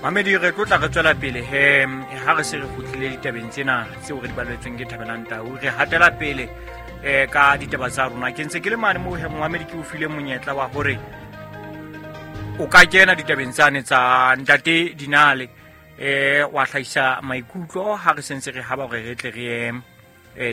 Mamedi, re tlo tla re tswela pele he ha re se re kgutlile ditabeng tsena tseo re di baletsweng ke Thabelang Tau. Re hatela pele ka ditaba tsa rona. Ke ntse ke le mane moo he, momamedi, ke o file monyetla wa hore o ka kena ditabeng tsane tsa ntate Dinale, wa hlahisa maikutlo ha re sentse re haba hore re tle re ye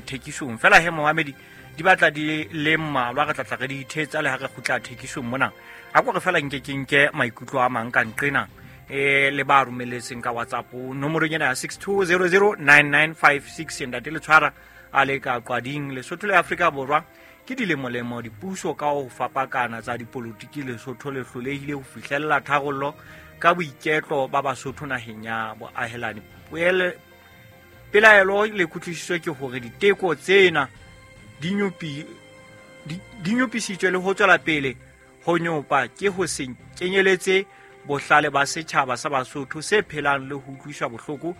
thekisong. Fela he, momamedi, di batla di le mmalwa, re tlatla re di ithetsa le ha re kgutla thekisong mona. A ko re fela nke ke nke maikutlo a mang ka nqena le ba romeletseng ka WhatsApp nomorong ena ya 62009956. Ntate le tshwara a le ka Qwading, Lesotho le Afrika Borwa. Ke dilemolemo dipuso ka ho fapakana tsa dipolotiki Lesotho le hlolehile ho fihlella tharollo ka boiketlo ba Basotho naheng ya boahelani. Pelaelo le kutlwisiso ke hore diteko tsena di nyopisitswe le ho tswela pele ho nyopa ke ho se kenyeletse bohlale ba setjhaba sa Basotho se phelang le ho utlwiswa bohloko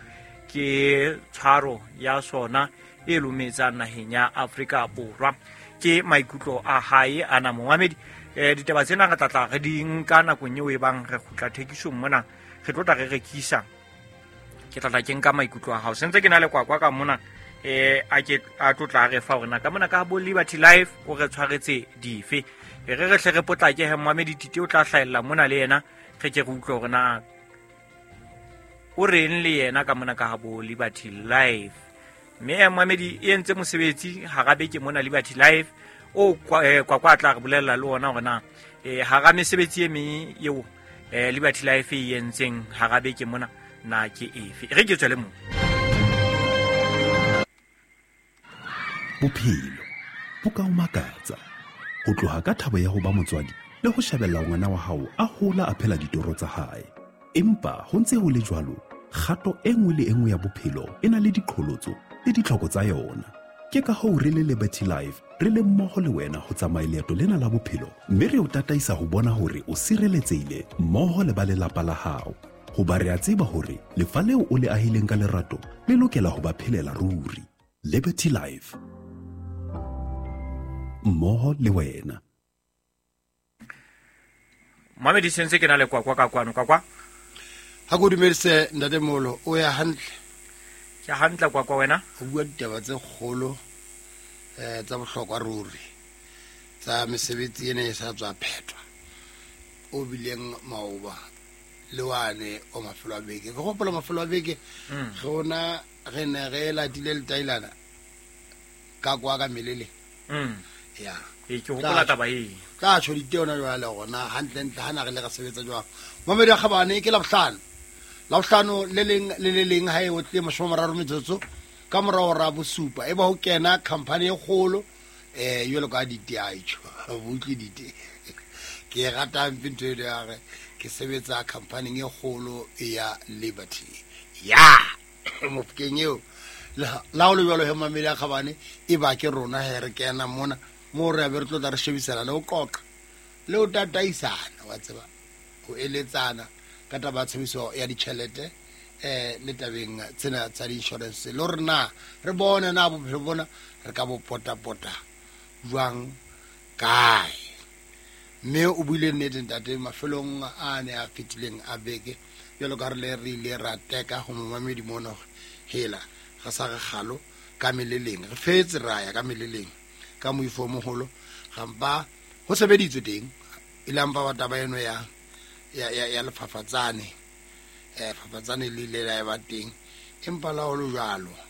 ke tshwaro ya sona e lometsang naheng ya Afrika Borwa. Ke maikutlo a hae ana, momamedi. Ditaba tsena re tlatla re di nka nakong eo e bang re kgutla thekisong mona, re tlo tla re rekisa. Ke tlatla ke nka maikutlo a hao. Sentse ke na le Kwakwa ka mona, a ke a tlo tla re fa hore na ka mona ka bo Liberty Life o re tshwaretse dife. E re re hle re potlake he, momamedi. Tite o tla hlahella mona le yena, re ke re utlwe hore na o reng le yena ka mona ka ha bo Liberty Life. Mme momamedi, e entse mosebetsi hara beke mona Liberty Life o Kwakwa a tla re bolella le ona hore na hara mesebetsi e meng eo Liberty Life e entseng hara beke mona na ke efe. E re ke tswele moo. Bophelo bo ka o makatsa ho tloha ka thabo ya ho ba motswadi le ho shebella ngwana wa hao a hola a phela ditoro tsa hae, empa ho ntse ho le jwalo, kgato e nngwe le e nngwe ya bophelo e na le diqholotso le ditlhoko tsa yona. Ke ka hoo re le Liberty Life re le mmoho le wena ho tsamaya leeto lena la bophelo, mme re o tataisa ho bona hore o sireletsehile mmoho le ba lelapa la hao, hoba re a tseba hore lefa leo o le ahileng ka lerato le lokela ho ba phelela ruri. Liberty Life, mmoho le wena. Mamedi, sentse ke na le Kwakwa ka kwano. Kwakwa. Ha ko dumedise, ntate Molo. O ya hantle? Ke hantle, Kwakwa, wena? O bua ditaba tse kgolo tsa bohlokwa ruri tsa mesebetsi ena e sa tswa phethwa o bileng maoba le wane o mafelo a beke. Ke gopola mafelo a beke ge ona re ne re latile letailana ka kwa ka melele. Ya. Ee, ke hopola taba ee. Tla tjho dite ona jwale gona hantlentle ha na re le re sebetsa jwang. Mamedi a kgabane, ke Labohlano, Labohlano le leng le le leng ha e otle 30 metsotso ka morao ra 7, e ba ho kena company e kgolo jwalo ka dite a tjho botle dite. Ke e rata hampe ntho eno ya re ke sebetsa companyng e kgolo ya Liberty ya Mofokeng eo. La ho le jwalo he, mamedi a kgabane, e ba ke rona he re kena mona moo re abe re tlo tla re shebisana le ho qoqa le ho tataisana, wa tseba, ho eletsana ka taba ya tshebediso ya ditjhelete le tabeng tsena tsa di-insurance, le hore na re bone na bophelo bona re ka bo potapota jwang kae. Mme o buile nnete ntate mafelong a ne a fetileng a beke, jwalo ka re le re ile ra teka ho momamedi mona hore hela re sa re kgalo ka meleleng, re fetse ra ya ka meleleng ka moifo o moholo, gampa ho sebeditswe teng e le ampa ba taba eno ya lefafatsane, fafatsane le ile la ba teng, empa la ho le jwalo.